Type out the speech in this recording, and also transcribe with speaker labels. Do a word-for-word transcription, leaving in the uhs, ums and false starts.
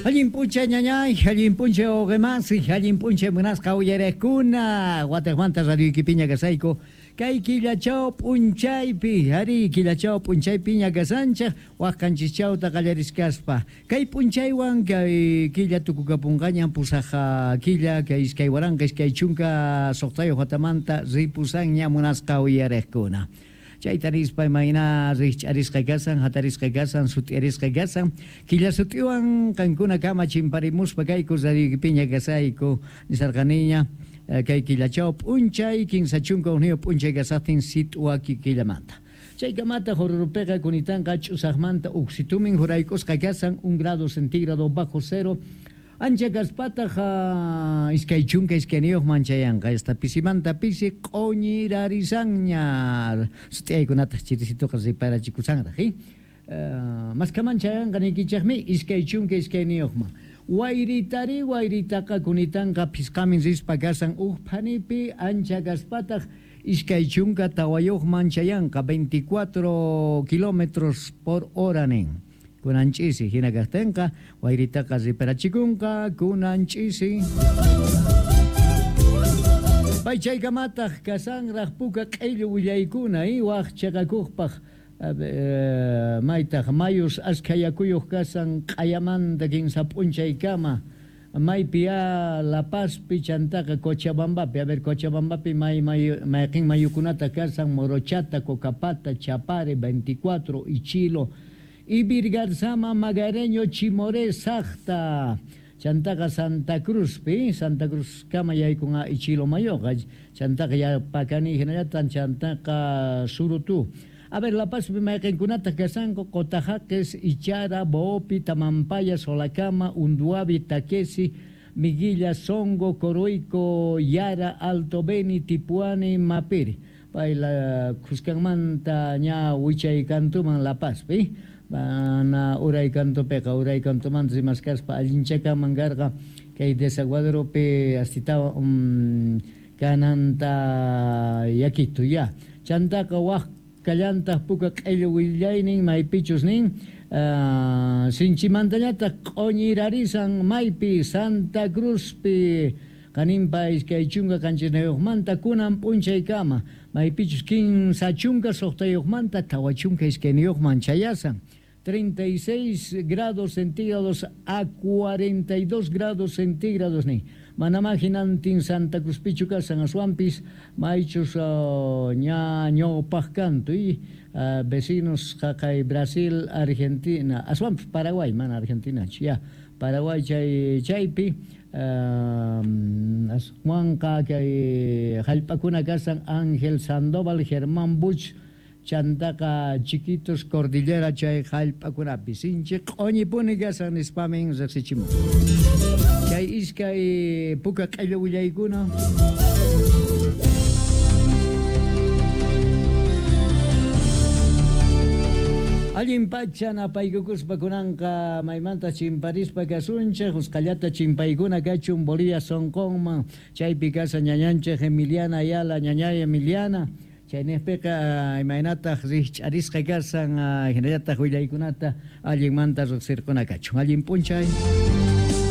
Speaker 1: Allin p'unchay ñañay, allin p'unchay wawqimasi, allin p'unchay munasqa uyarekuna, Wateqmanta radioykipiña kasayku. Kay killachaw p'unchaypi, ari killachaw p'unchaypiña kasanchej, waj qanchischawta qallariskaspa. Kay p'unchaywan kay killa tukukapunqañan pusaj killa, kay iskay waranqa iskay chunka suqtayuq watamanta ripusanña munasqa uyarekuna. Chayta nispa imayna rikch'arisqa kasan, hatarisqa kasan, sut'iarisqa kasan. Killa sut'iwan qankuna kama chimparimuspa kayku radioykipiña kasayku nisarqaniña kay killachaw p'unchay kinsa chunka hukniyuq p'unchay kasaqtin sit'waki killamanta. Chaykamata Jorurupiqa kunitanqa ch'usaqmanta uksitumin jurayk'usqa kasan un grado centígrado bajo cero. Ancha kaspataq iskay chunka iskayniyuqman chayanqa, esta pisimanta pisi q'uñirarisanña. Sut'iyaykunataq chirisituqa riparachikushanraq, eh? Maskaman chayanqa niykichaqmi iskay chunka iskayniyuqman. Wayritari wayritaqa kunitanqa phisqamin rispa kasan uj phanipi ancha kaspataq iskay chunka tawayuqman chayanqa veinticuatro kilómetros por hora nin. Kunan ch'isi hina kaqtinqa wayritaqa riparachikunqa kunan ch'isi. Pay chaykamataq kasanraq puka q'illu willaykuna eh, waj chaqakuqpaq maytaq mayus askha yakuyuq kasan q'ayamanta kinsa p'unchaykama maypi ya La Pazpi chantaqa Cochabambapi, a ver Cochabambapi may may mayqin mayukunata kasan Morochata, Cocapata, Chapare, veinticuatro, Ichilo, Ibirgarzama, Magareño, Chimoré, Saqta, chantaqa Santa Cruzpi, Santa Cruz kama yaykunqa Ichilo mayuqa, chantaqa Yapacani hinallatan chantaqa Surutú. A ver, La Pazpi mayqinkunataq kasanku Cotajaques, Ichara, Boopi, Tamampaya, Solacama, Unduavi, Taquesi, Miguilla, Songo, Coroico, Yara, Alto Beni, Tipuani, Mapiri. Pay la Cuscanmanta ña wichay kantuman La Pazpi. Mana uray kantupiqa, uray kantumanta rimaskaspa allinchakaman karqa kay desaguaderopi astitawa um, kananta yakitu ya. Chantaqa waj kallantaq puka q'illu willaynin maypichus nin uh, sinchimantañataq q'uñirarisan maypi Santa Cruzpi qaninpa iskay chunka qanchisniyuqmanta kunan p'unchaykama maypichus kinsa chunka suqtayuqmanta tawa chunka iskayniyuqman chayasan treinta y seis grados centígrados a cuarenta y dos grados centígrados nin. Manamá hinantin Santa Cruzpichu kasan aswanpis maychus uh, ña ñawpaq kantu y uh, vecinos qaqay Brasil, Argentina, aswanpis Paraguay, mana Argentinachu, ya Paraguay chay chaypi uh, aswanqa kay hallp'akuna kasan Ángel Sandoval, Germán Buch, chantaqa Chiquitos, Cordillera chay hallp'akunapi sinchi q'uñipuni kasan nispamin riqsichimun. Chay iskay puka q'illu willaykuna. Allin pacha napaykukuspa kunanqa maymanta chimparispa kasunchej, usqallata chimpaykuna kachun Bolivia sonqonman, chaypi kasa ñañanchej Emiliana Ayala, ñañay Emiliana. Chaynejpiqa imaynataq rikch'arisqa kasan, hinallataq willaykunata allinmanta riqsirquna kachun. Allin p'unchay.